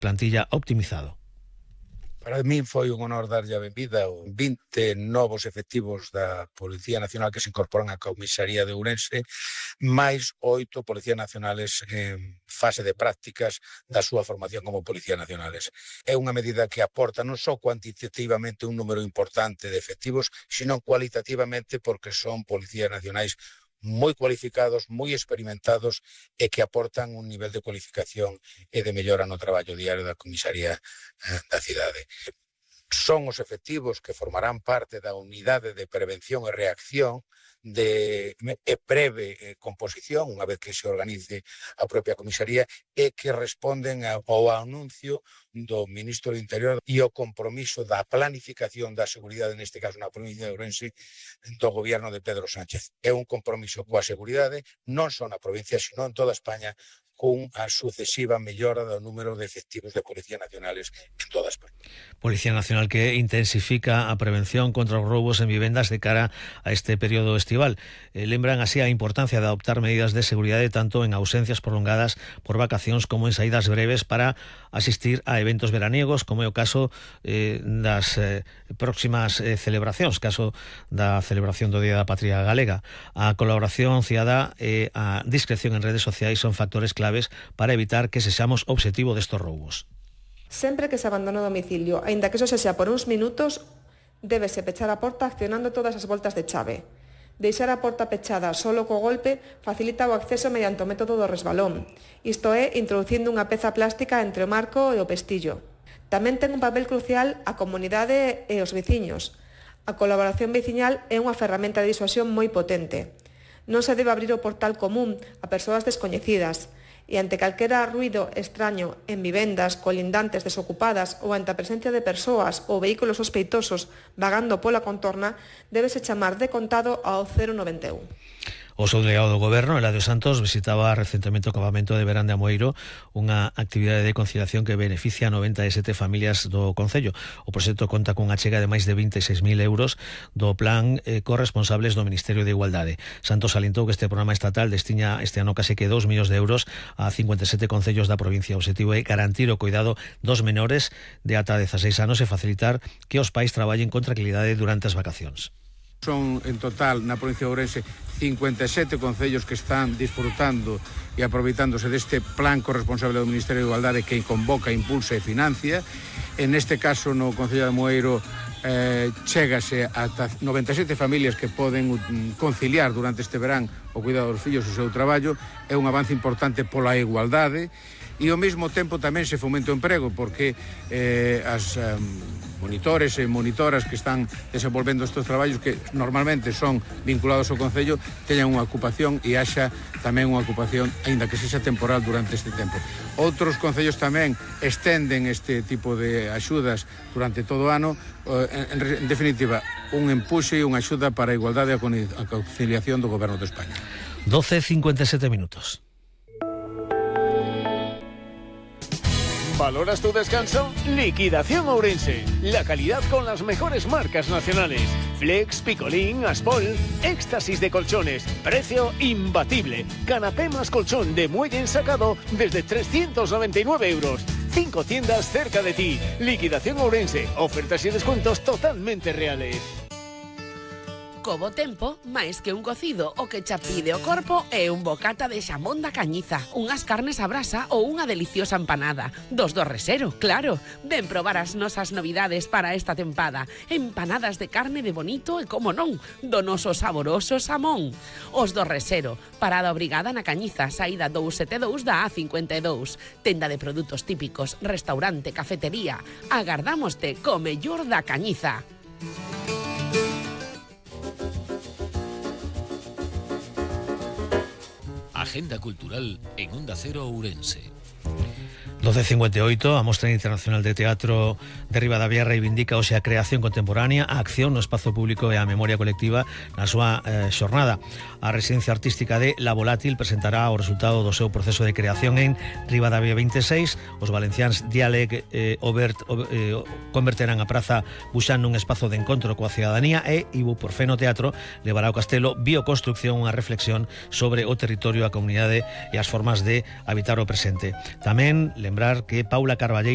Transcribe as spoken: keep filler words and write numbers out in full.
plantilla optimizado. Para min foi un honor darlle a benvida aos vinte novos efectivos da Policía Nacional que se incorporan á comisaría de Ourense, máis oito policías nacionales en fase de prácticas da súa formación como policías nacionales. É unha medida que aporta non só cuantitativamente un número importante de efectivos, sino cualitativamente porque son policías nacionais moi cualificados, moi experimentados e que aportan un nivel de cualificación e de mellora no traballo diario da comisaría eh, da cidade. Son os efectivos que formarán parte da unidade de prevención e reacción de e breve eh, composición, unha vez que se organice a propia comisaría, e que responden ao anuncio do Ministro do Interior e o compromiso da planificación da seguridade, neste caso na provincia de Ourense, do goberno de Pedro Sánchez. É un compromiso coa seguridade, non só na provincia, sino en toda España, con a sucesiva mellora do número de efectivos de Policía Nacionales en toda España. Policía Nacional que intensifica a prevención contra os roubos en vivendas de cara a este período estival. Eh, lembran así a importancia de adoptar medidas de seguridade tanto en ausencias prolongadas por vacacións como en saídas breves para asistir a eventos veraniegos, como é o caso eh, das eh, próximas eh, celebracións, caso da celebración do Día da Patria Galega. A colaboración cidadá e a discreción en redes sociais son factores clave para evitar que sexamos obxectivo destos roubos. Sempre que se abandona o domicilio, aínda que eso sexa por uns minutos, débese pechar a porta accionando todas as voltas de chave. Deixar a porta pechada solo co golpe facilita o acceso mediante o método do resbalón, isto é, introducindo unha peza plástica entre o marco e o pestillo. Tamén ten un papel crucial a comunidade e os veciños. A colaboración veciñal é unha ferramenta de disuasión moi potente. Non se debe abrir o portal común a persoas descoñecidas, e ante calquera ruido extraño en vivendas colindantes desocupadas ou ante a presencia de persoas ou vehículos sospeitosos vagando pola contorna, débese chamar de contado ao cero noventa e un. O subdelegado do Goberno, Eladio Santos, visitaba recentemente o campamento de verán de Amoeiro, unha actividade de conciliación que beneficia a noventa e sete familias do concello. O proxecto conta cunha achega de máis de vinte e seis mil euros do plan eh, corresponsables do Ministerio de Igualdade. Santos salientou que este programa estatal destiña este ano case que dous millóns de euros a cincuenta e sete concellos da provincia. O objetivo é garantir o cuidado dos menores de ata dezaseis anos e facilitar que os pais traballen con tranquilidade durante as vacacións. Son en total na provincia de Ourense cincuenta e sete concellos que están disfrutando e aproveitándose deste plan corresponsable do Ministerio de Igualdade que convoca, impulsa e financia. En este caso, no Concello de Amoeiro, eh, chégase ata noventa e sete familias que poden conciliar durante este verán o cuidado dos fillos e o seu traballo. É un avance importante pola igualdade e ao mesmo tempo tamén se fomenta o emprego porque eh, as eh, monitores e monitoras que están desenvolvendo estes traballos que normalmente son vinculados ao Concello teñan unha ocupación e haxa tamén unha ocupación, aínda que sexa temporal durante este tempo. Outros concellos tamén estenden este tipo de axudas durante todo o ano. En, en definitiva, un empuxe e unha axuda para a igualdade e a conciliación do Goberno de España. doce e cincuenta e sete minutos. ¿Valoras tu descanso? Liquidación Ourense. La calidad con las mejores marcas nacionales. Flex, Picolín, Aspol. Éxtasis de colchones. Precio imbatible. Canapé más colchón de muelle ensacado desde trescientos noventa y nueve euros. Cinco tiendas cerca de ti. Liquidación Ourense. Ofertas y descuentos totalmente reales. Co bo tempo, máis que un cocido, o que xa pide o corpo é un bocata de xamón da Cañiza, unhas carnes a brasa ou unha deliciosa empanada. Dos do Resero, claro. Ven probar as nosas novidades para esta tempada. Empanadas de carne de bonito e, como non, do noso saboroso xamón. Os do Resero, parada obrigada na Cañiza, saída dous sete dous da A cincuenta e dous. Tenda de produtos típicos, restaurante, cafetería. Agardámoste co mellor da Cañiza. Agenda cultural en Onda Cero Ourense. doce cincuenta e oito, a Mostra Internacional de Teatro de Ribadavia reivindica hoxe a creación contemporánea, a acción no espazo público e a memoria colectiva na súa eh, xornada. A Residencia Artística de La Volátil presentará o resultado do seu proceso de creación en Ribadavia veintiséis. Os valenciáns Dialeg eh, Obert eh, converterán a Praza Buxán nun espazo de encontro coa cidadanía e Ibuprofeno Teatro levará ao Castelo Bioconstrucción unha reflexión sobre o territorio, a comunidade e as formas de habitar o presente. Tamén lembrar que Paula Carballeira